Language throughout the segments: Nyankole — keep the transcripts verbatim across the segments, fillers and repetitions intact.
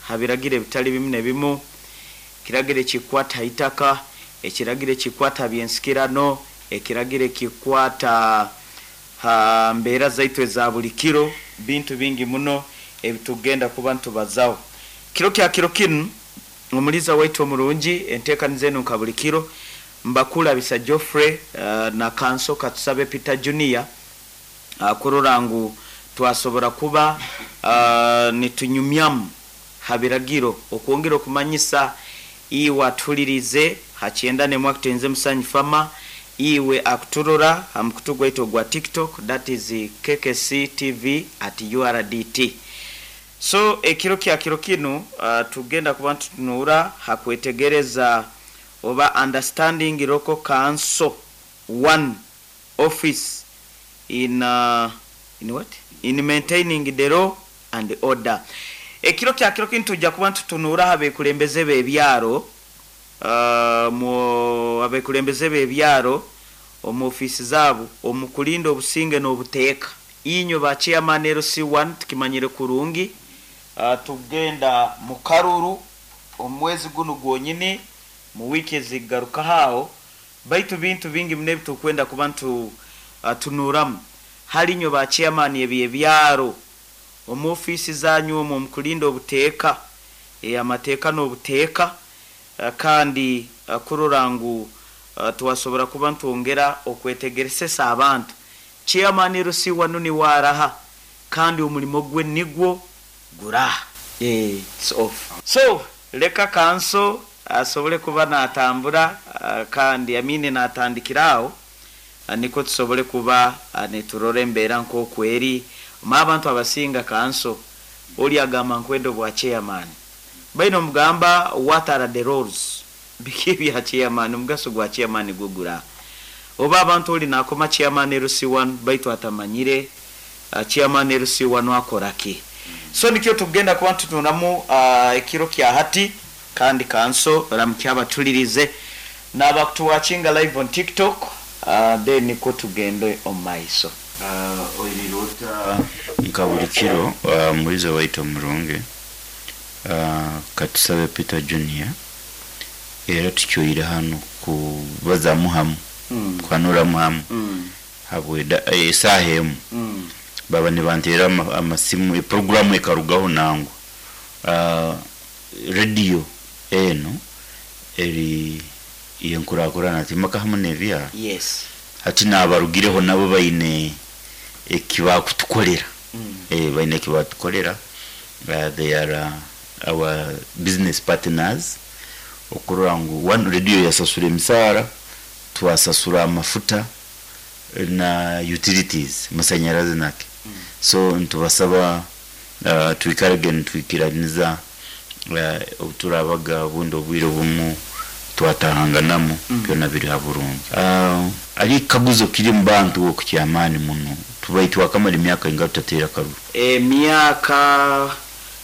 Habiragiro ebitali bimu ne bimu, ekiragiro ekikwata itaka, ekiragiro ekikwata byensikirano, ekiragiro ekikwata ha mbeera zaitu eza buli kiro, bintu bingi muno ebitugenda kuba ntubazaho kiro kya kiro kinu. Omuliza waitu omurungi, enteekaniza enu nka buli kiro, Mbakulabisa Geoffrey uh, na Kanso Katusabe Peter Junior, uh, kurora ngu twasobora kuba uh, nitunyumyamu ha biragiro okwongera okumanyisa iwe atuhulirize hakyenda nemwe akutenze Musanyi Fama, iwe akuturora ha mukutu gwaitu ogwa TikTok, that is K K C T V at U R D T. So ekiro kya kiro kinu uh, tugenda kuba ntutunura hakwetegereza oba understanding local council one office in, uh, in what in maintaining the law and order. Ekiro kya kiro kinu tujja kuba ntutunura abekulembeze b'ebyaro, uh, mu abekulembeze b'ebyaro omu ofiisi zaabo omu kulinda obusinge n'obuteeka. Inywe ba chairman L C one, tukimanyire kurungi, uh, tugenda mu karuru omwezi gunu gwonyini, mu wiiki ezigarukaho aho, baitu bintu bingi muno ebitukwenda kuba ntu uh, tunuramu hali inywe ba chairman ebyebyaro omu ofiisi zanyu omwo omu kulinda obuteeka, e, amateeka n'obuteeka, uh, kandi uh, kurora ngu uh, twasobora kuba ntwongera okwetegeresesa abantu. Chairman L C one niwe araha kandi omulimo gwe nigwo guraha? Eh, it's off. So leka Kanso asobole kuba natambura, uh, kandi amine natandikira aho, uh, niko tusobole kuba uh, niturora embeera nk'okweri ma abantu abasinga. Kanso, oli agamba nkwenda obwa chairman, baine omugamba, "What are the roles?" Biki ebya chairman? Omugaso gwa chairman gwo gura? Oba abantu oli nakoma chairman L C one baitu atamanyire uh, chairman L C one akora ki. So nikyo tugenda kuba tutunamu uh, ekiro kya hati. Kandi Kanso, ramukya abatulirize n'abakutuwatchinga live on TikTok, uh, then niko tugende omu maiso. Uh, oirirota nka buli kiro, uh, mulizo waitu omurungi, uh, Katusabe Peter Junior, era tukyoire hano kubazamu hamu, mm. kwanuramu hamu mm. habwe esaaha emu mm. baba nibanteera ama- amasimu, eproguramu ekarugaho nangwa. uh, rediyo eno eri yenkurakurana timaka hamu n'ebyaro. Yes hati nabarugireho nabo baine ekibakutukolera. mm. eh, baine ekibatukolera. uh, they are uh, our business partners okurora ngu one radio yasasura emisaara, twasasura amafuta na utilities, masanyarazi nake. Mm. So ntubasaba uh, twikarege nitwikiraniza uh, obuturabaga obundi obwire obumu twatahanganamu. Mm. Byona biri ha burungi. uh, ari ekikaguzo kiri mu bantu okukyamaani muno, tubai twakamara emyaka inga tutateera karuru? Emyaka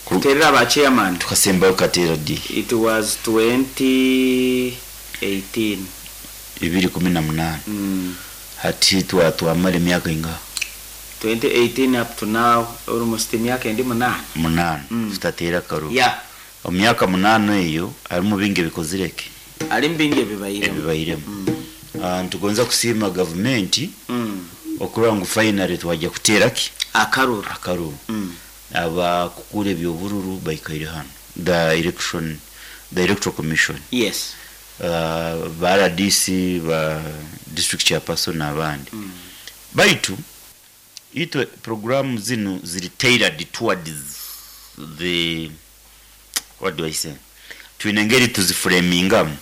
kuterera ba chairman? Tukasembayo kateera di? It was twenty eighteen. Ibiri kumi na munaana. mm. Hati twa twamara emyaka inga? twenty eighteen up to now, almost emyaka endi munaana. Munaana. Mm. Tutateera karuru. Yeah omu myaka munaana eyo harimu bingi ebikozireke. Ali bingi ebibairemu. Ebibairemu. mm. uh, ntugonza kusiima gavumenti mm. okurora ngu finally twajya kuteera ki? Akaruru. Akaruru. mm. Abakukura ebyobururu baikaire hano, the election the Electoral Commission, yes uh, ba R D C, ba district chairperson n'abandi. mm. Baitu itwe programu zinu ziri tailored towards the, what do I say, twine engeri tuziframingamu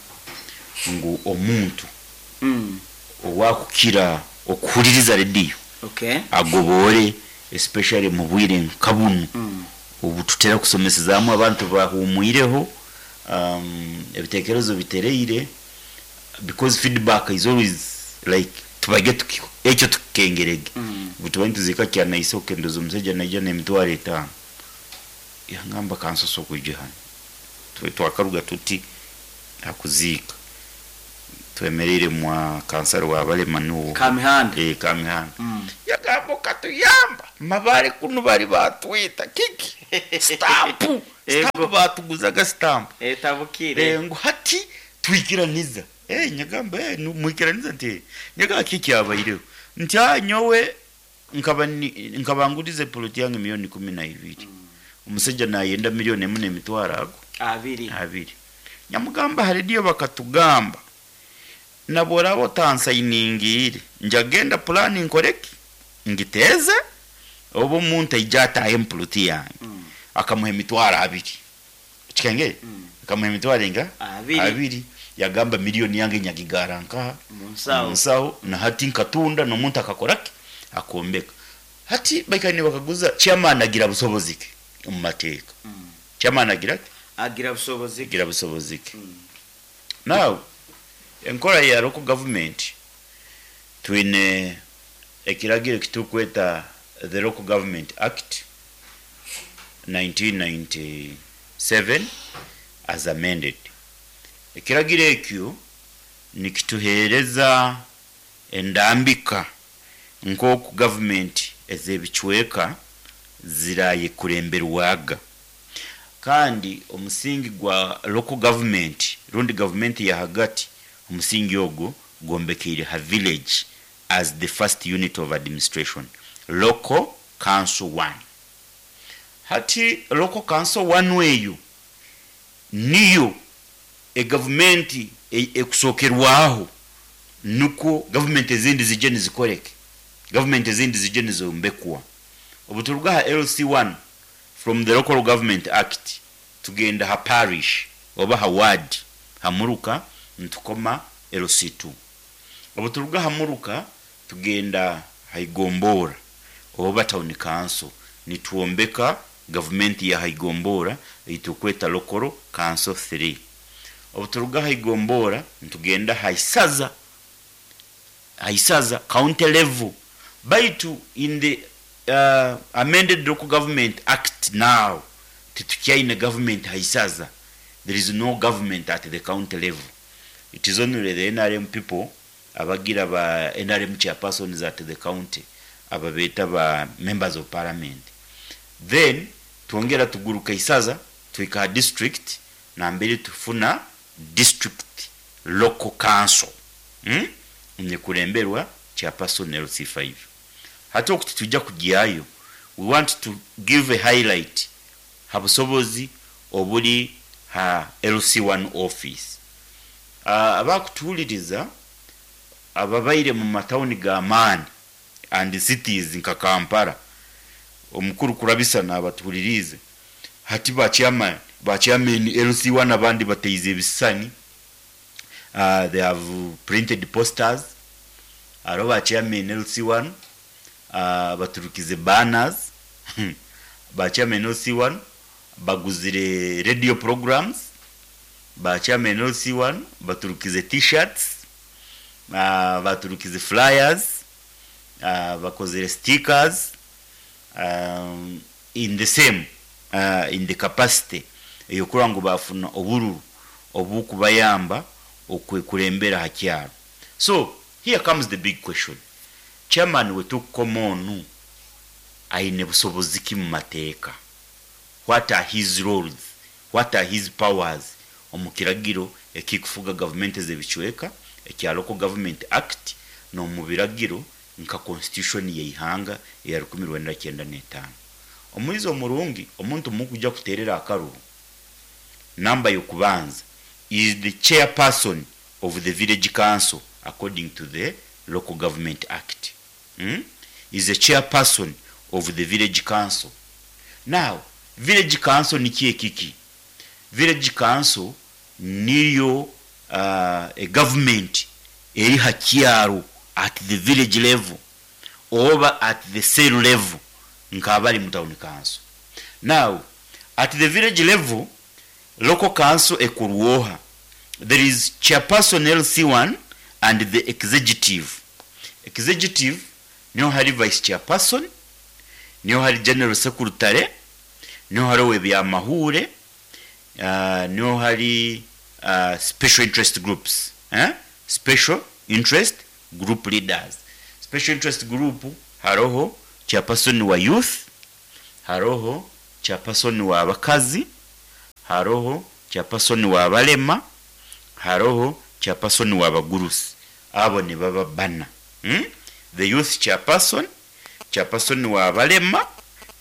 ngu omuntu Mm. owakukira okuhuliriza rediyo okay agobore, especially mu bwire nka bunu mm. ubu tutera kusomesezaamu abantu bahumwireho, um, ebitekerezo bitereire, because feedback is always like tubage tuki ekyo tukengerege. Mm. Ubu tuba nituzika kyanaise okendoza omusajja naija n'emitwaro etaano, yangamba kansoso okwijja hano. Twe twakaruga tuti akuziika twemereire mwa kansari wa balema nuwo. Kamihanda. Eh, Kamihanda. Mm. Yagamba okatuyamba mabare kuno bari batwita kiki stampu. Stamp batuguzaga stamp. Etabukire. Eh, ngu hati twikiraniza. Eh, nyagamba, eh, nu- mwikiraniza nti nyaga kiki kyabaireho nti, "Ah, nyowe nkaba ni- nkaba ngurize poloti yange miliyoni kumi na ibiri, omusajja nayenda miliyoni emu n'emitwaro ago abiri." Abiri. Nyamugamba, ha rediyo bakatugamba nabworaba otansayiningiire, njagenda pulani nkoreki, ngiteeze oba omuntu aija atahe empuloti yange." Mm. Akamuha emitwaro abiri, kikenge Mm. akamuha emitwaro enga? Abiri. Abiri. Yagamba, "Miliyoni yange nyagigara nkaha?" Mu nsawo. Munsawo. Na hati nkatunda n'omuntu akakoraki, akombeka. Hati baikani bakaguza, chairman agira busobozi ki omu mateeka? Mm. Chairman agira ki? Agira busobozi ki? Agira busobozi ki? Mm. Now, enkora ya local government, twine ekiragiro ekitukweta the Local Government Act nineteen ninety-seven as amended. Ekiragiro ekyo nikituheereza endambika nk'oku gavumenti ez'ebicweka zirayekuremberwaga, kandi omusingi gwa local government rundi gavumenti ya hagati, omusingi ogwo gwombekeire ha village as the first unit of administration, local council one. Hati local council one eyo niyo egavumenti e- ekusokerwaho, nukwo gavumenti ezindi zijje nizikoreke, gavumenti ezindi zijje nizombekwa. Obu turuga ha L C one from the Local Government Act, tugenda ha parish oba ha ward, hamuruka ntukoma L C two. Obu turuga hamuruka, tugenda haigombora oba town council, nitwombeka gavumenti ya haigombora eitukweta local council three. Obu turuga haigombora, ntugenda haisaza, haisaza, county level. Baitu in the uh, amended Local Government Act now, titukyaine government haisaza. There is no government at the county level. It is only the N R M people abagira ba N R M chairpersons at the county, ababeeta ba members of parliament. Then twongera tuguruka isaza, twika ha district, nambere tufuna district local council, hmm? Nekulemberwa chairperson L C five. Hati okuti tujja kugyayo, we want to give a highlight ha busobozi obuli ha L C one office. uh, abakutuwuliriza ababaire mu matawuni g'amaani and cities nka Kampala, omukuru kurabisa nabatuhulirize, hati ba chairman ba chairman L C one abandi bateize ebisisani, uh, they have printed posters. Aro ba chairman L C one uh, baturukize banners, ba chairman L C one baguzire radio programs, ba chairman L C one baturukize T-shirts, uh, baturukize flyers, uh, bakozere stickers, um, in the same uh, in the capacity eyokuba ngu bafuna obururu obukubayamba okwekulembera ha kyalo. So here comes the big question: chairman wetukukoma onu aine busobozi ki mu mateeka? What are his roles? What are his powers omu kiragiro ekikufuga gavumenti ez'ebicweka ekya Local Government Act, n'omu biragiro nka constitution yeihanga eya rukumi rwenda kyenda n'etaano? Omuizi omurungi, omuntu mukujja kuterera akaruru, namba yokubanza is the chairperson of the village council according to the Local Government Act, hmm? Is a chairperson of the village council. Now, village council niki ekiki? Village council niyo uh, a government eri hakyaro at the village level oba at the cell level nk'abali mu town council. Now, at the village level, local council ekurwoha, there is chairperson L C one and the executive. Executive niho hari vice chairperson, niho hari general secretary, niho hari owebyamahure, uh, niho hari uh, special interest groups, eh? Special interest group leaders. Special interest group haroho chairperson wa youth, haroho chairperson wa abakazi. Haroho chairperson w'abalema, haroho chairperson w'abagurusi. Abo nibaba bana, hmm? The youth chairperson, chairperson w'abalema,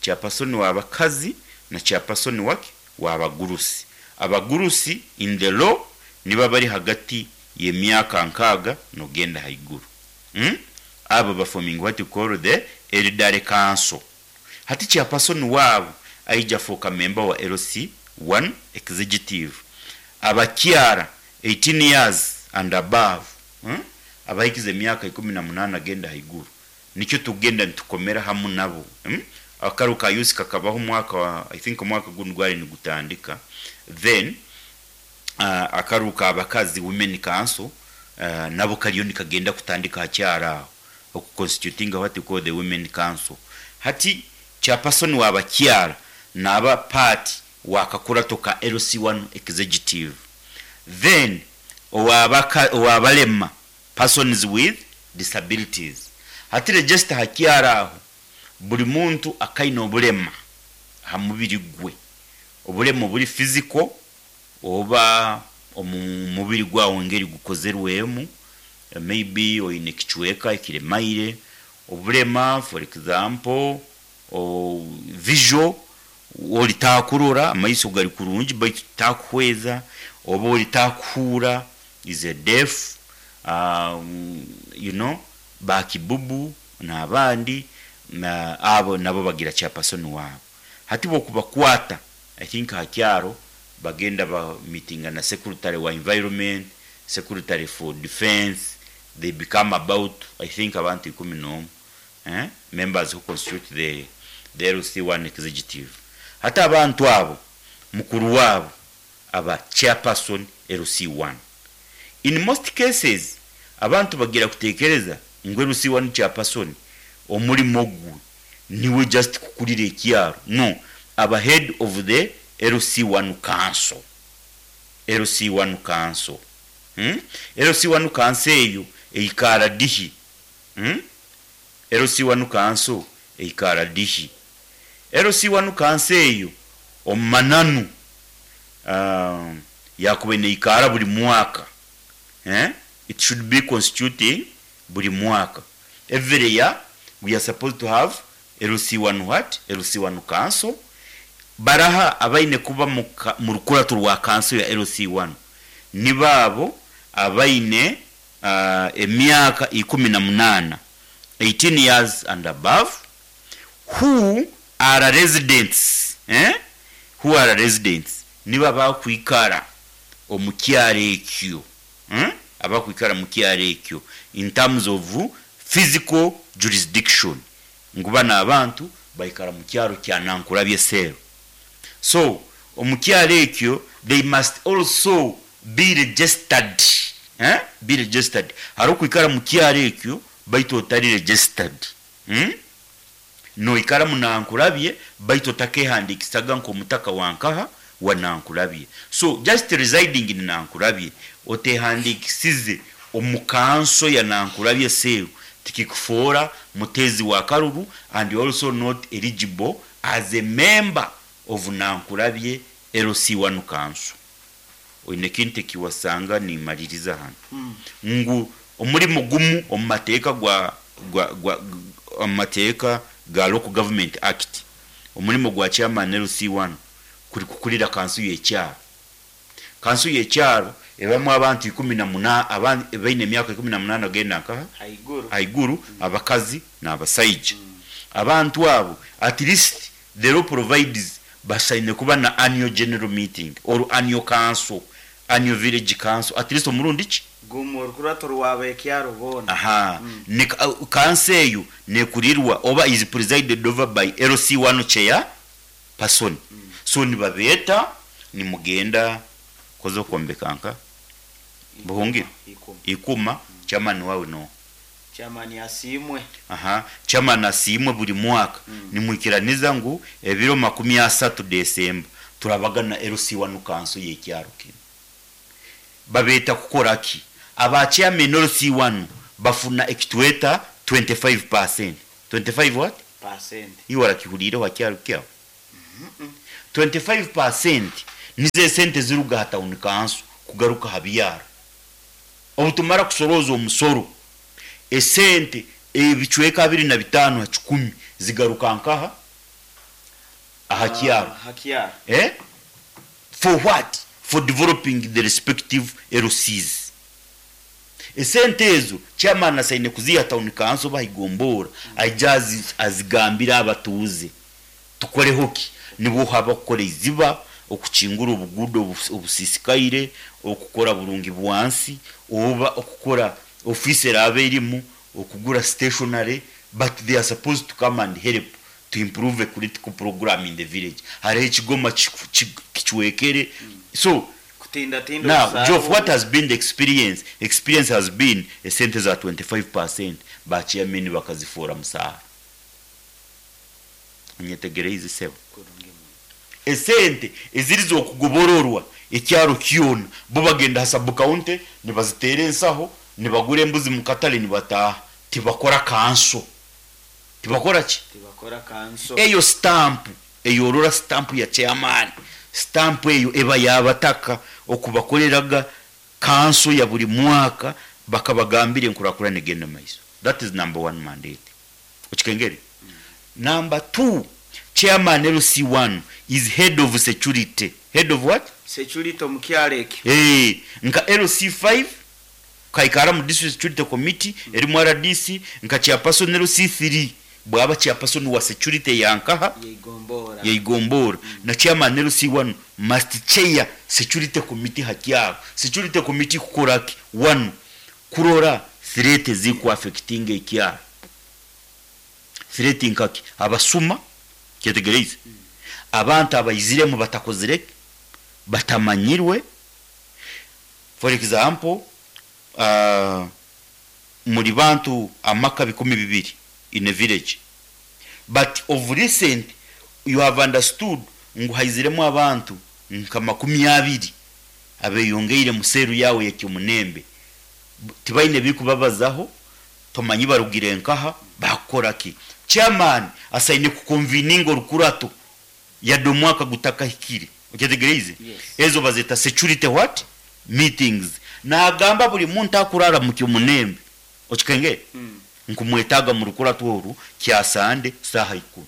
chairperson w'abakazi na chairperson waki w'abagurusi. Abagurusi in the law niba bari hagati y'emyaka nkaaga nogenda haiguru, hmm? Abo baforming what you call the elderly council. Hati chairperson waabo aija fooka member wa L C one executive. Abakyara eighteen years and above, hmm? Abahikize emyaka ikumi na munana agenda haiguru, nikyo tugenda nitukomera hamu nabo, hmm? Akaru ka youth kakabaho omwaka wa, I think omwaka guno gwali nigutandika. Then uh, akaru k'abakazi, women council, uh, nabo kariyo nikagenda kutandika hakyaro aho, okuconstitutinga what you call the women council. Hati chairperson w'abakyara naba part wakakurato ka L C one executive. Then owabaka owabalema, persons with disabilities. Hati register hakyaro aho, buli muntu akaina obulema ha mubiri gwe, obulema obuli physical oba omu mubiri gwawe engeri gukozerwemu, maybe oine ekicweka ekiremaire, obulema for example o visual, oli takurora, amaiso gari kurungi baitu takuhweza, oba oli takuhuura, is a deaf, um, you know bakibubu n'abandi na abo nabo bagira chairperson wabo. Hati bokubakwata, I think hakyaro bagenda ba meetinga na secretary wa environment, secretary for defense. They become about, I think, abantu ikumi n'omu, eh? Members who constitute the, the L C one executive. Hati abantu abo mukuru wabo aba chairperson L C one. In most cases abantu bagira kutekereza ngu L C one chairperson omulimo gwe niwe just kukulira ekyaro. No, aba head of the L C one council. L C one council, hmm? L C one council eyo eikara dihi, hmm? L C one council eikara dihi? L C one council eyo omumananu uh, yakuba neikara buli mwaka, eh? It should be constituting buli mwaka. Every year we are supposed to have L C one what? L C one council. Baraha abaine kuba mu rukurato rwa council ya L C one? Ni baabo abaine uh, emyaka ikumi na munana, eighteen years and above, who are residents, eh? Who are residents, niba bakwikara omu kyaro ekyo, hmm? Abakwikara mu kyaro ekyo in terms of physical jurisdiction, ngu bano abantu baikara mu kyaro kya Nankulabye cell. So omu kyaro ekyo they must also be registered, eh? Be registered. Hari okwikara mu kyaro ekyo baitu otari registered, hmm? Noikara munankulabye baitu otakehandikisaga nk'omutaka wankaha wa Nankulabye. So just residing in Nankulabye otehandikisize omu kanso ya Nankulabye cell tikikufoora mutezi wa karuru, and you also not eligible as a member of Nankulabye L C one council. Oine kintu ekiwasanga nimaliriza hano, Mm. ngu omulimu gumu omu mateeka gwa, gwa, gwa, omu mateeka ga Local Government Act, omulimu gwa chairman L C one kuri kukulira kansu y'ekyaro. Kansu y'ekyaro ebamu abantu ikumi na muna abantu baine emyaka ikumi na munana genda nkaha haiguru. Haiguru, abakazi n'abasaija. Abantu abo, at least the law provides, basaine kuba na annual general meeting or annual council, annual village council, at least omurundi ki? Gumu, orukurato rwaba ekyaro boona. Aha. Mm. Ne kanso eyo nekurirwa oba is presided over by L C one chair person. So nibabeeta, nimugenda koza okwombeka nka Buhungiro. Ikuma. Ikuma. Chairman wawe no Chairman asiimwe. Aha, chairman asiimwe buli mwaka. Mm. Nimwikiraniza ngu ebiro makumi asatu Desemba turabagana L C one council y'ekyaro kino. Babeeta kukora ki? Aba chairman L C one bafuna ekitweta twenty-five percent. twenty-five what? Percent. Iwe warakihuriire wa kyaro kyawe? twenty-five percent Nizo esente ziruga ha town council kugaruka ha byaro. Obutumara kusoroza omusoro, esente ebicweka abiri na bitaano ha kikumi zigaruka nkaha aha kyaro. Ah, hakyaro. Eh? For what? For developing the respective L Cs. Esente ezo chairman asaine kuziha town council bahigombora, aija azi- azigambira abatuuze, tukoreho ki? Nibwo haba kukora iziba, okukingura obuguudo obus- obusisikaire, okukora burungi bwansi, oba okukora office eraba erimu, okugura stationary, but they are supposed to come and help to improve a critical program in the village. Hariho ekigoma kiku- ki- kicwekere, so kutindatinda. Now, Obusaaro. Geoff, what has been the experience? Experience has been esente za twenty-five percent ba chairman bakazifuura musaara. Onyetegereize, sebo? Kurungi muno. Esente eziri z'okugobororwa ekyaro kyona, bo bagenda ha sub county nibaziteera ensaho, nibagura embuzi mu katale, nibataaha. Tibakora council. Tibakora ki? Tibakora council. Eyo stamp eyorora, stamp ya chairman, stamp eyo eba yabataka okubakoleraga council ya buli mwaka, bakabagambira enkurakurana egenda maiso. That is number one mandate. Okikengere? Number two, chairman L C one is head of security. Head of what? Security omukyalo ekyo. Hey, nka L C five kaikara mu district security committee erimu R D C, nka chairperson L C three bwaba chairperson wa security yankaha? Yeigombora. Yeigombora. Na chairman L C one must chair security committee hakyaro. Security committee kukora ki? One, kurora threat ziku affecting ekyaro. Threat nkaki? Abasuma. Kyetegereize? Abantu abayiziremu batakozire, batamanyirwe. For example, uh, muri bantu amaka bikumi bibiri in a village, but of recent you have understood ngu haiziremu abantu nka makumi abiri abeyongeire museru yawe yakyomunembe. Tibaine bikubabazaho, tomanyi barugire nkaha, bakora ki. Chairman asaine kuconveninga orukurato yadde omwaka gutakahikire. Okyetegereize? Yes. Ezo bazeta security what? Meetings. Nagamba buli muntu akurara mu kyomunembe, okikenge, Mm. nkumwetaga mu rukurato oru kyasande saha ikumi.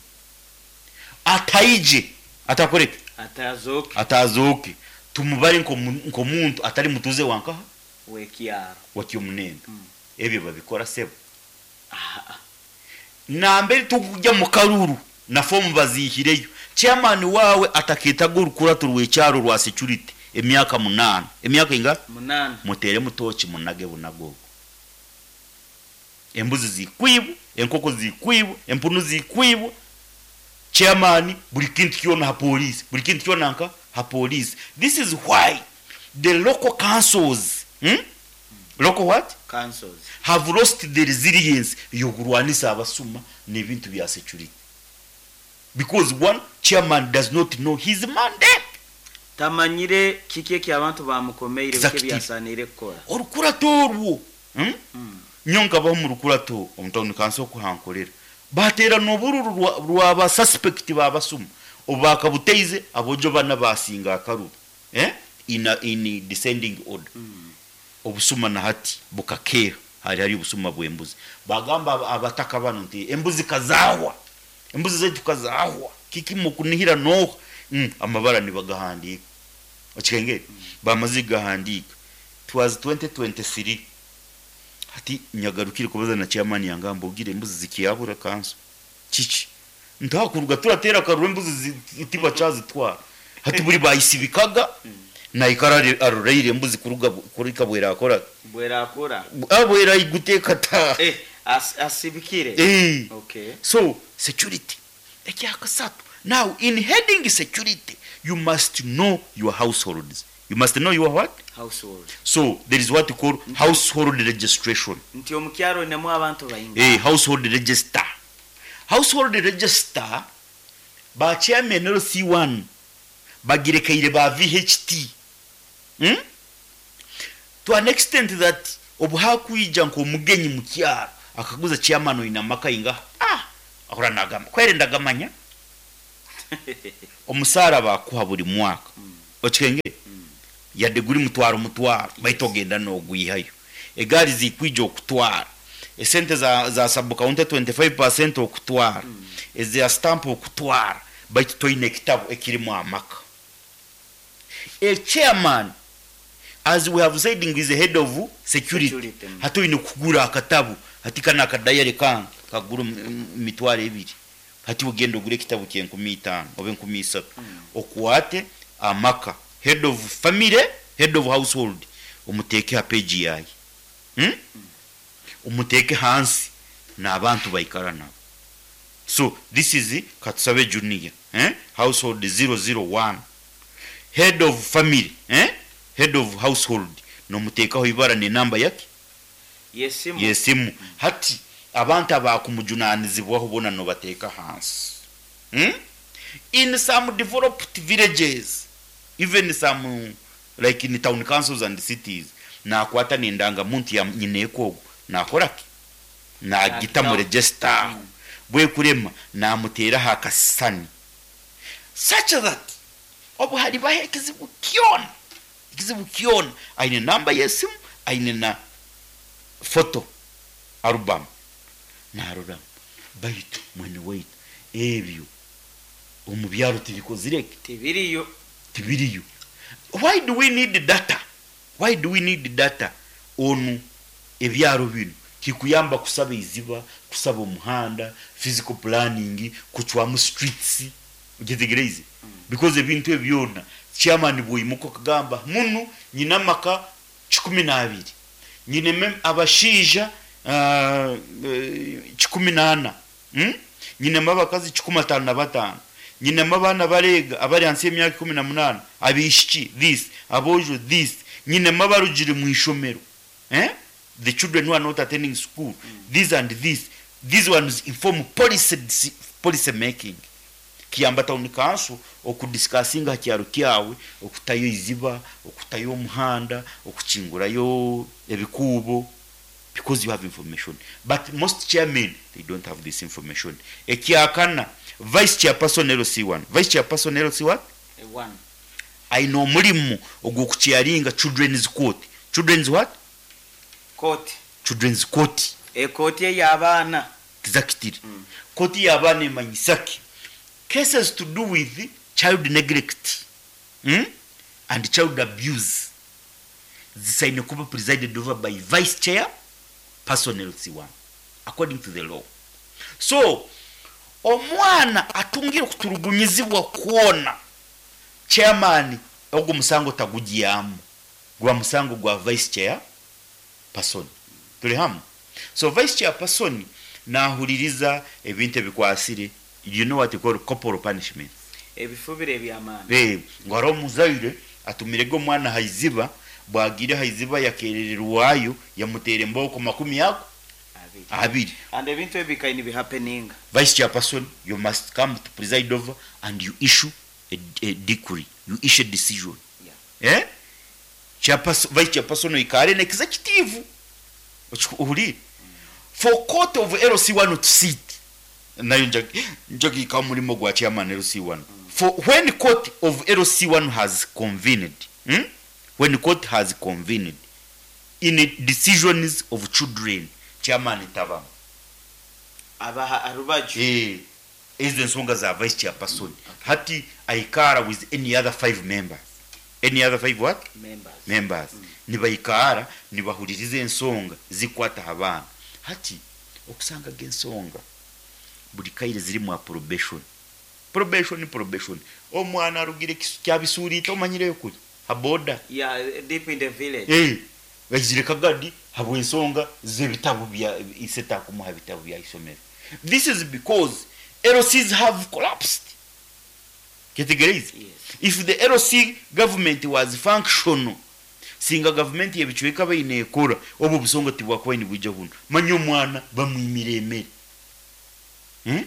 Ataije, atakoreke? Atazoke. Atazoke, tumubare nkomu- nkomuntu atari mutuze wankaha? Wekyaro. Wakyomunembe. Mm. Ebyo babikora, sebo? Ah, Nambere tukujya mu karuru na fomu bazihireyo, chairman wawe ataketaga orukurato rw'ekyaro rwa security emyaka munana. Emyaka inga? Munana. Mutere mutoki, munage bunagogo. Embuzi zikwibwa, enkoko zikwibwa, empunu zikwibwa, chairman buli kintu kyona ha police, buli kintu kyona nka ha police. This is why the local councils, hmm? Local what? Councils. Have lost the resilience yokurwanisa abasuma n'ebintu bya security, because one, chairman does not know his mandate. Tamanyire kiki eki abantu bamukomeire bike. Exactly. Byasanire kukora. Orukurato orwo, hmm? Mm. Nyo nkabaho mu rukurato omutawuni kansi okuhankorera, baterana obururu rwa- rwaba suspect babasuma obakabuteize, abojo bana basinga akaruru, eh? in, a, in descending order. Mm. Obusuma na hati bukakeera, hari hari obusuma bw'embuzi. Bagamba aba- abataka bano nti embuzi kazahwa, embuzi zaitu kazahwa, kiki mukunihira noha? mm, amabara nibagahandika. Okikengere? Bamaze gahandika, twas twenty twenty-three. Hati nyagarukire kubaza na chairman yangamba, ugire embuzi zikiyabura kanso kiki? Ntakuruga turatera akaruru, embuzi zi- tibachazitwara. Hati buri bayisibikaga naikara aroreire embuzi kuruga kuri kabwera akora. Bwerakura. Abwera iguteka ta. Eh, as, asibikire. Eh. Okay. So security ekyakasatu. Now, in heading security, you must know your households. You must know your what? Household. So there is what you call household registration. Nti omukyaro nemu abantu bainga. Eh, household register. Household register, ba chairman L C one bagirekeire ba V H T, hmm? To an extent that obu hakwija nk'omugenyi mu kyaro akaguza chairman, oina amaka inga? Ah, ahora nagamba kwere ndagamanya. Omusaara bakuha buli mwaka. Okikengere yadde guri mutwaro mutwaro, baitu ogenda nogwihayo. Egaari zikwija okutwara esente za, za sub county twenty-five percent okutwara, eza stamp okutwara, baitu toine ekitabo ekirimu amaka. A chairman, as we have said, is the head of security. Security, mm. Hati oine kugura akatabo, hati kana akadayare kange kagura emitwaro ebiri, hati ogenda ogura ekitabo kyenkumi itaano oba enkumi isatu, okwate amaka, head of family, head of household, omuteeke ha page yaye, hmm? Omuteeke hansi n'abantu baikara nabo. So this is Katusabe Junior, eh? Household zero zero one, head of family, eh? Head of household nomuteekaho ibara nenamba yake yesimu. Yesimu. Hati abantu abakumujunanizibwaho bona nobateeka hansi, hmm? In some developed villages, even some like in town councils and cities, nakwata nendangamuntu ya nyineko ogwo, nakoraki? Nagita mu Nagitaho. register aho bwekurema, namuteraho akasisani such that obu halibaho ekizibu kyona, ekizibu kyona, aine namba yesimu, aine na photo album naroramu. Baitu mwene waitu, ebyo omu byaro tibikozireke. Tibiriyo. Tibiriyo. Why do we need data? Why do we need data onu ebyaro bino? Kikuyamba kusaba iziba, kusaba omuhanda, physical planning, kucwamu streets. Okyetegereize? Because ebintu ebyo byona, chairman bwoimuka okagamba munu nyina amaka kikumi n'abiri, nyinemu abashaija uh, kikumi n'ana, hmm? Nyinemu abakazi kikumi ataano na bataano, nyinemu abaana bareega abari hansi y'emyaka ikumi na munaana, abaishiki this, aboojo this, nyinemu abarugire mu ishomero, eh? The children who are not attending school, this and this. These ones inform policy, policy making. Kiyamba town council okudiscussinga ha kyaro kyawe okutayo iziba, okutayo omuhanda, okukingurayo ebikuubo, because you have information. But most chairmen, they don't have this information. Ekyakana, vice chairperson L C one. Vice chairperson L C what? One. Aine omulimu ogw'okuchairinga children's court. Children's what? Court. Children's court. Ekooti ey'abaana. Exactly. Kooti y'abaana emanyisaki? Cases to do with child neglect, hmm? and child abuse zisaine kuba presided over by vice chair person L C one according to the law. So omwana atungire okuturugunyizibwa kwona, chairman ogwo musango tagugyamu, gwa musango gwa vice chair person. Tuli hamu? So vice chair person nahuliriza ebintu ebikwasire, you know what you call corporal punishment. Ebifubiro eby'amaani. Eh, ngo hariho omuzaire atumirege omwana haiziba, bwagire haiziba yakerererwayo, yamutera emboko makumi ako abiri. Abiri. And ebintu ebi bikaine bihappeninga. Vice chairperson, you must come to preside over and you issue a, a decree, you issue a decision. Yeah. Eh? Chairperson, vice chairperson oikare n'executive. Ohurire, for court of L C one to sit, nayo njagika omulimo gwa chairman L C one. For when court of L C one has convened, hmm? When court has convened in decisions of children, chairman tabamu. Abaha arubaju. Eh, ezo ensonga za vice chairperson. Hati aikara with any other five members. Any other five what? Members. Members. Nibaikara nibahuliriza ensonga zikwata abaana. Hati okusangaga ensonga buli kaire zirimu probation, probation, probation. Omwana arugire kisu kyabisuuriite, omanyireyo kuli ha border. Yeah, deep in the village. Eh, baizire kagadi habw'ensonga z'ebitabo bya ise, takumuha bitabo bya isomero. This is because L Cs have collapsed. Ketegereize? Yes. If the L C government was functional, singa gavumenti yebicweka baine ekora, obwo obusonga tibwakuba nibwija buno. Manya omwana bamwimira emere, hmm?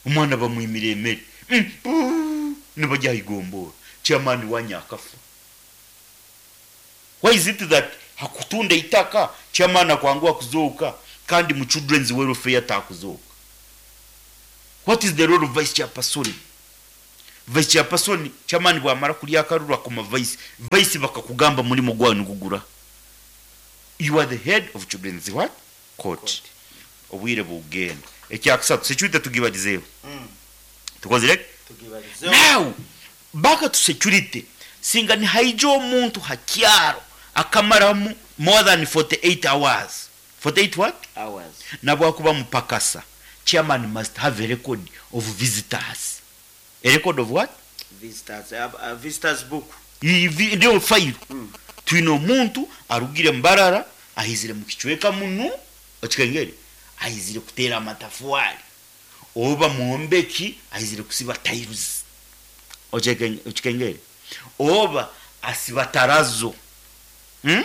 Omwana bamwimira emere, mm. puu, nibajya igombora, chairman wanya akafa. Why is it that hakutunda itaka chairman akwanguha kuzooka, kandi mu children's welfare takuzooka? What is the role of vice chairperson? Vice chairperson, chairman bwamara kulya akaruru akoma vice. Vice bakakugamba mulimo gwawe nigugura. You are the head of children's what? Court. Court. Obwire bugenda. Ekyakusatu security tugibalizeeho. Mm. Tukozire? Tugibalizeho. Now back to security. Singa ni haija omuntu hakyaro akamaramu more than forty-eight hours. forty-eight what? Hours. Nabwakuba mupakasa. Chairman must have a record of visitors. A record of what? Visitors, uh, uh, visitors book. Ivi ndio file. Mm. Twine omuntu arugire Mbarara ahizire mu kicweka munu okikengere ahizire kutera amatafwari oba muombeki ahizire kusiba tiles okikengere oba asiba tarazo. Hmm?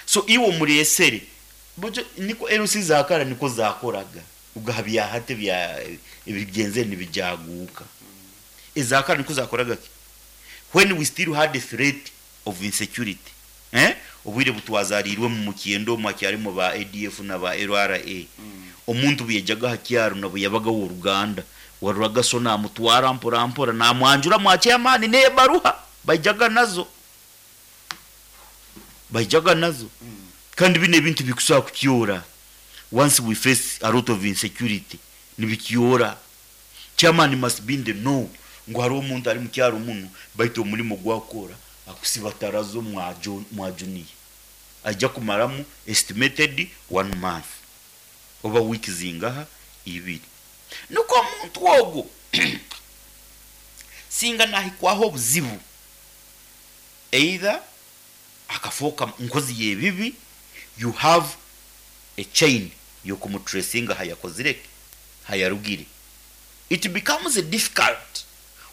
So iwo muresere bojo niko L C zakara niko zakoraga ugahabya hate bya ebigenze nibijaguka ezakara niko zakoraga ki? When we still had the threat of insecurity, eh obwire butwazarirwe mu mukiendo mwakyarimo ba A D F na ba L R A. Mm. Omuntu byejaga hakyaro nabo yabaga wo Ruganda waruraga so na mutwara mpora mpora na mwanjura mwakyamani ne baruha bajaga nazo bajaga nazo. Mm. Kandi bine bintu bikusa kukyora once we face a lot of insecurity nibikyora. Chairman must be in the know ngo hari omuntu ari mu kyaro muno baito omulimo gwakora akusiba tarazo mwajuniye ajja kumaramu estimated one month oba week zingaha ibiri nuko omuntu ogwo singa nahikwaho obuzibu either akafoka nkozi yebibi, you have a chain yokumutracinga hayakozireke hayarugire. It becomes difficult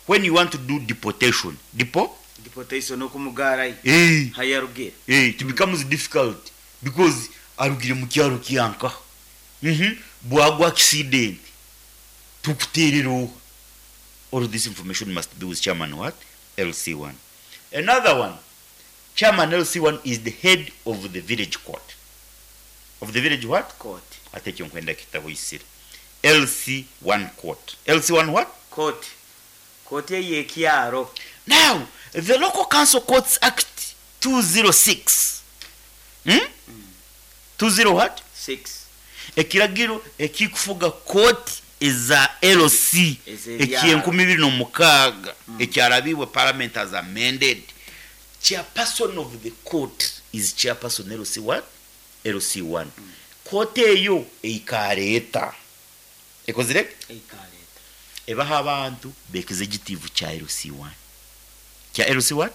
when you want to do deportation. Depo? Deportation okumugara eh hayarugire. Eh, it becomes difficult because arugire mu kyaro kyanka. Mhm. Bwagwa accident. Tukuterero. All this information must be with chairman what? L C one. Another one. Chairman L C one is the head of the village court. Of the village what? Court. Ate kyonkwenda kitabo isire. L C one court. L C one what? Court. Court ye kyaro. Now, the Local Council Courts Act two zero six. Hmm? Mm. two zero what? six. Ekiragiro ekikufuga court eza L C ekyenkumi bibiri n'omukaaga ekyarabibwe parliament as amended. Chairperson of the court is chairperson L C what? L C one. Mm. Court eyo eikareeta. Ekozire? Eikareeta. Ebaha abantu executive cha L C one. Cha L C what?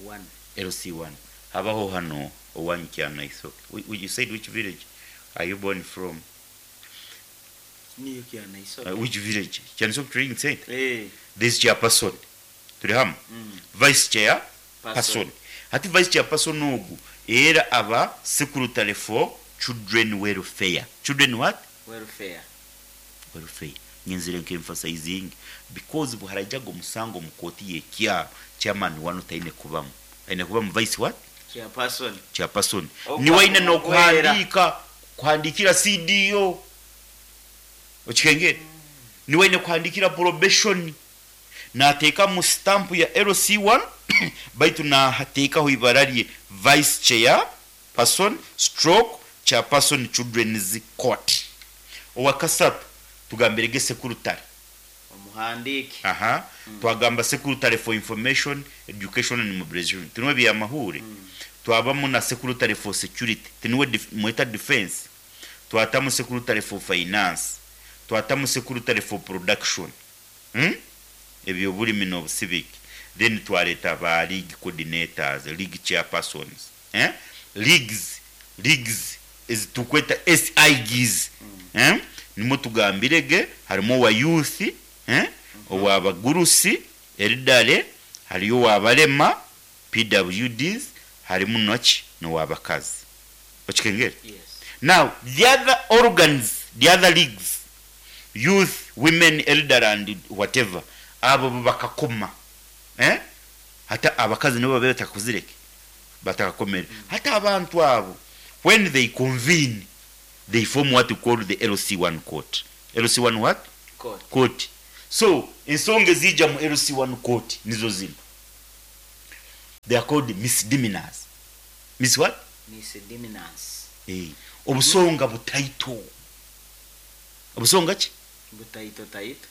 one. L C one. Habaho hano owanyu kyana iso. You said which village are you born from? Niyo kyana iso. Uh, which village? Kyana Training Center. Eh. This chairperson. Turi hamu. Mm. Vice chair person. Person. Hati vice chairperson ogu era aba secretary for children welfare. Children what? Welfare. Welfare. Nyenzire nke emphasizing because buharajago musango mukoti ye kyaro chairman wano taine kubamu. Aine kubamu vice what? Chairperson. Chairperson. Ni waine no kuhandika kuhandikira C D O. Okikengere. Mm. Ni waine kuhandikira probation. Nateeka mu stamp ya L C one baitu na hateekaho ibara lye vice chair person stroke chairperson children's court. Owakasatu tugambirege secretary omuhandiki. Aha. Mm. Twagamba secretary for information education and mobilization tinwe bya mahure. Mm. Twabamu na secretary for security tinwe def, mweta defense. Twatamu secretary for finance. Twatamu secretary for production. Hmm? Ebyo bulimi no civic. Then twareta ba league coordinators, league chairpersons, eh? Leagues, leagues is tukweta S I Gs. Mm. Eh? Nimo tugambirege harimo wa youth, eh? Mm -hmm. Owa bagurusi, eridale, hariyo wa balema, P W Ds, harimu nochi no wa bakazi. Okikengere? Yes. Now, the other organs, the other leagues, youth, women, elder and whatever, abo bakakoma. Eh? Hata abakazi nibo babe batakuzireke. Batakakomere. Mm. Hata abantu abo when they convene they form what we call the L C one court. L C one what? Court. Court. So ensonga ezija mu L C one court nizo zino. They are called misdemeanors. Mis what? Misdemeanors. Eh, obusonga butaito. Obusonga ki? Butaito taito.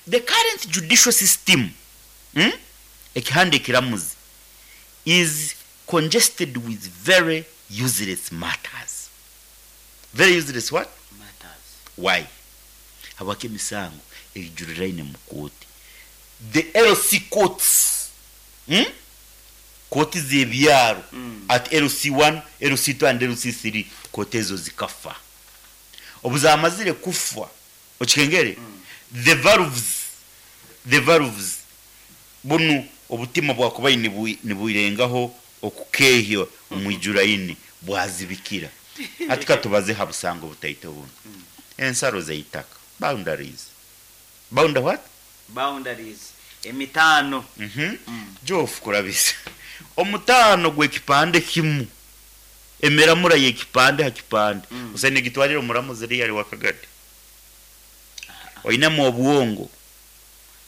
The current judicial system, hmm? ekihanda ekiramuzi, is congested with very useless matters. Very useless what? Matters. Why? Habwaki emisango ejuriraine mu kooti? The L C courts, hmm? Kooti z'ebyaro, Mm. at L C one, L C two and L C three, kooti ezo zikafa. Obu zamazire kufa, okikengere, the valves the valves bunu obutima bwakubaire nibu- niburengaho okukehya omwijuraini bwazibikira. Ati katubaze ha busango butaito buno, ensaro zeitaka, boundaries. Bounda what? Boundaries, emitaano. Mhm. Mm. Jofu kurabisa omutaano gw'ekipande kimu, emiramura y'ekipande ha kipande, Mm. usaine gitwarire omuramuzi riyari wakagadi oinemu obwongo.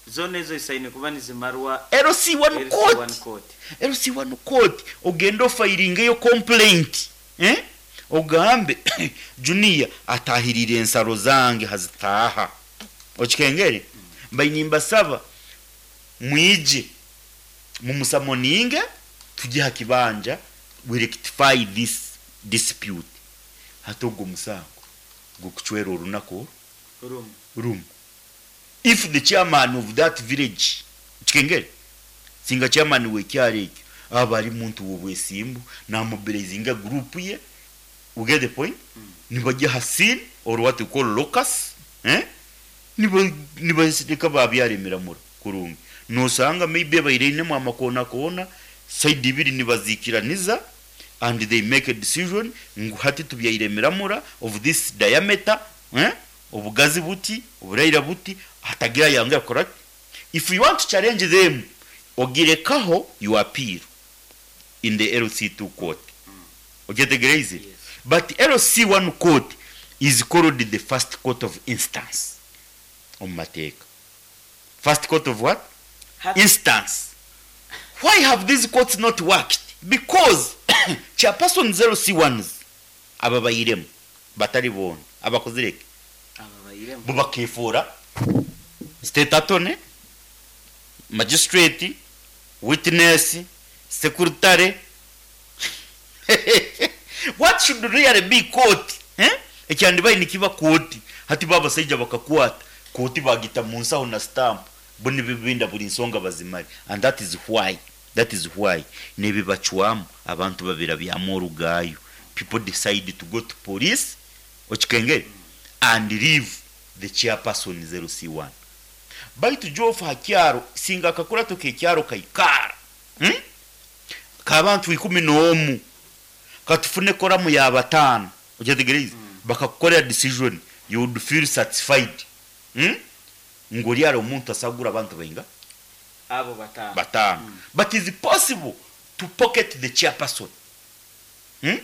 Zona ezo isaine kuba nizimarwa L C one L C one court. Court. L C one court, ogenda ofilingeyo complaint, eh? Ogambe Junior atahirire ensaro zange hazitaha, okikengere, mbaine mbasaba mwije mumusummoninge tujye ha kibanja, we rectify this dispute. Hati ogwo musango gukucwera orunaku rumu. Room. If the chairman of that village, kikengere, singa chairman w'ekyalo ekyo aba ari muntu w'obwesimbu, namobilizinga group ye, we get the point, nibajya ha scene or what we call locus, eh? niba nibareka babyara emiramura kurungi, nosanga maybe baireinemu amakona kona side ibiri nibazikiraniza and they make a decision ngu hati tubyaire emiramura of this diameter, eh? Obugazi buti, oburaira buti, hatagira yanga correct. If you want to challenge them, ogirekaho, you appeal in the L C two court. Okyetegereze? Yes. But L C one court is called the first court of instance omu mateeka. First court of what? Hati- Instance. Why have these courts not worked? Because chairperson L C ones aba bayiremu batari boona abakozireke aba bayiremu bo bakefuura state attorney, magistrate, witness, secretary. What should really be court, eh? Ekyandibaire nikiba kooti, hati babasaija bakakwata kooti bagita mu nsaho na stamp, bo nibibinda buli nsonga bazimale. And that is why that is why nebibacwamu abantu babirabyamu orugayo. People decide to go to police, okikengere, and leave the chairperson zero C one. Baitu jofu hakyaro singa akakurato kekyaro kaikara, hmm? Kabantu ikumi n'omu, katufune quorum ya bataano, okyetegereze, mm. bakakukorera decision, you would feel satisfied, hmm? Ngoli ari omuntu asagura abantu bainga abo bataano. Bataano. Mm. But is it possible to pocket the chairperson, hmm?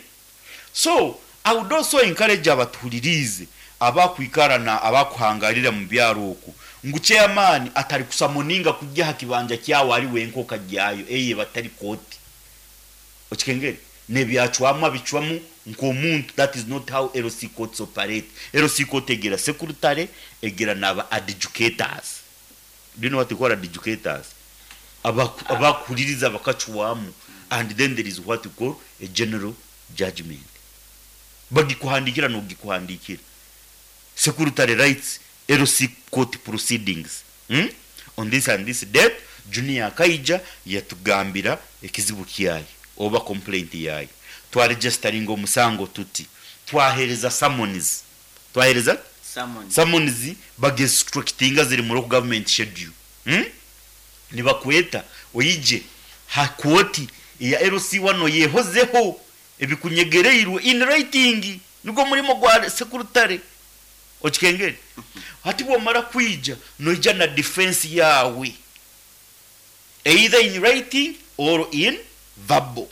So I would also encourage abatuhulirize abakwikara na abakuhangarira mu byaro oku ngu chairman atari kusummoninga kujya ha kibanja kyawe ari wenka okajyayo, eye batari kooti, okikengere, nebyacwamu abicwamu nk'omuntu. That is not how L C courts operate. L C court egira secretary, egira n'aba adjudicators. Do you know what we call adjudicators? Abaku- abakuhuliriza bakacwamu, and then there is what we call a general judgment. Bagikuhandikira nogikuhandikira. Secretary writes L C court proceedings, hmm? On this and this date, Junior akaija yatugambira ekizibu kyaye oba complaint yaye, twaregisteringa omusango tuti, twahereza summons, twahereza Summons. Summons bagistructinga ziri mu local government schedule, hmm? Nibakweta oyije ha kooti ya L C one yehozeho ebikunyegereirwe in writing. Nigwo murimo gwa secretary, okikengere. Hati bwomara kwija, noija na defense yawe either in writing or in verbal.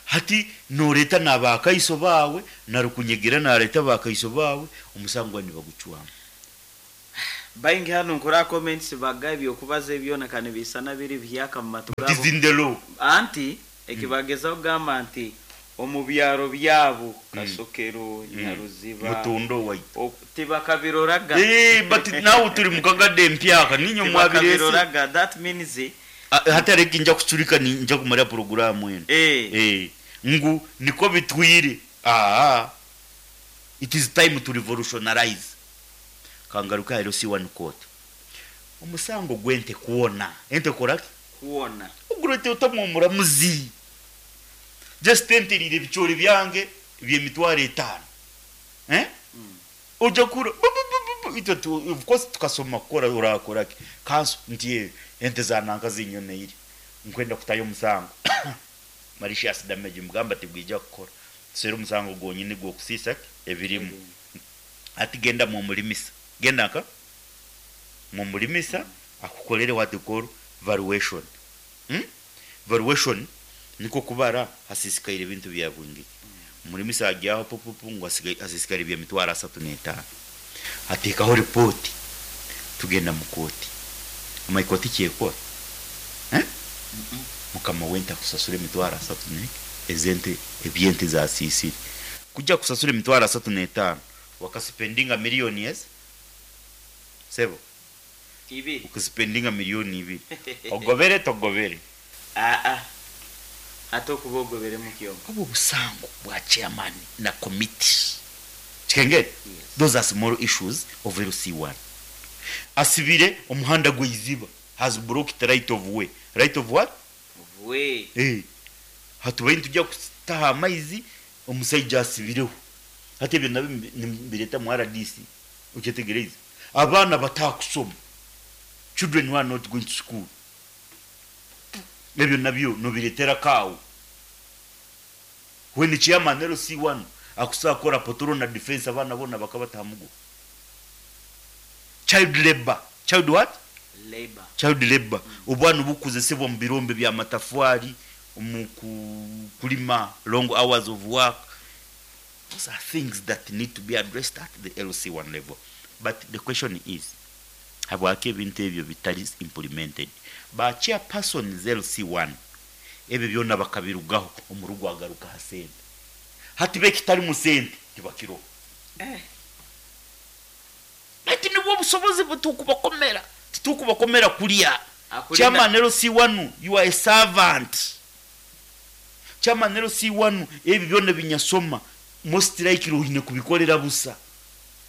Hati noreta nabakaiso bawe, narukunyegera nareta bakaiso bawe, omusango nibagucwamu. Baingi hano nkora comments baga ebyokubaza ebyona kane bisana biri byaka mu matu It is gabo. in the law. Anti ekibagezaho kugamba nti omu byaro byabo, Kasokero, Nyaruziba, Mutundo waitu. Ok- tibakabiroraga. Eh, but nawe turi mukagadde empyaka ninyo mwabirese. Tibakabiroraga, that means Hatareki nja kucurika ni nja kumara porogaramu eno. eh Eh, ngu niko bitwire. Ah, it is time to revolutionarize. Kangaruka ero si one court omusango gwente kuwona ente koraki kuwona. Ogurete otamwa omuramuzi, just enterire ebicoori byange byemitwaro etaano, eh? Ojja kura bu- bu- bu- bu- bu- itwe tu- of course tukasoma kukora orakoraki kanso nti eh, ente zananka zinyoneire, nkwenda kutayo omusango malicious damage. Mugamba tibwija kukora, tusere omusango gwonyini gwokusiisa ki ebirimu. Ati genda mumulimisa, genda nka mumulimisa akukolere what you call valuation, hmm? Valuation niko kubara hasisikaire ebintu bya bwingi. Omulimisa ajyaho pupupu ngu asigaye- hasisikaire byemitwaro asatu n'etaano, ateekaho ripoti, tugenda mu kooti. Omanyi kooti kyekora, eh? Mukama wente akusasura emitwaro asatu ne ezente ebyente zasisire. Kujja kusasura emitwaro asatu n'etaano wakasipendinga miliyoni ezi sebo. Ibiri. Ukasipendinga miliyoni ibiri, ogobere togobere? Aa, ate okuba ogobere mu kyombo. Obwo busango bwa chairman na committee kikengere. Yes. Those are small issues of L C one. Asibire omuhanda gweiziba, has blocked right of way. Right of what? We. Eh, hatubaye tujya kutaha amaizi, omusajja asibireho. Hati ebyo nabyo nibireta mu R D C. Okyetegereze, abaana batakusoma, children who are not going to school, ebyo nabyo nobiretera kaawo. When chairman L C one akusakora potoro na defense, abaana bona bakabatamugo. Child labor. Child what? Labor. Child labor, obwana obukozesebwa mu birombe bya matafwari, mu ku- kulima, long hours of work. Those are things that need to be addressed at the L C one level. But the question is, habwaki ebintu ebyo bitali implemented? Ba chairpersons L C one ebyo byonna bakabirugaho, omurugo agaruka ha sente. Hati bekitali mu sente tibakiroho. Eh. Ati nibwo obusobozi butukubakomera, titukubakomera kulya. Akulinda- Chairman L C one, you are a servant. Chairman L C one, ebyo byonna binyasoma most likely oine kubikolera busa.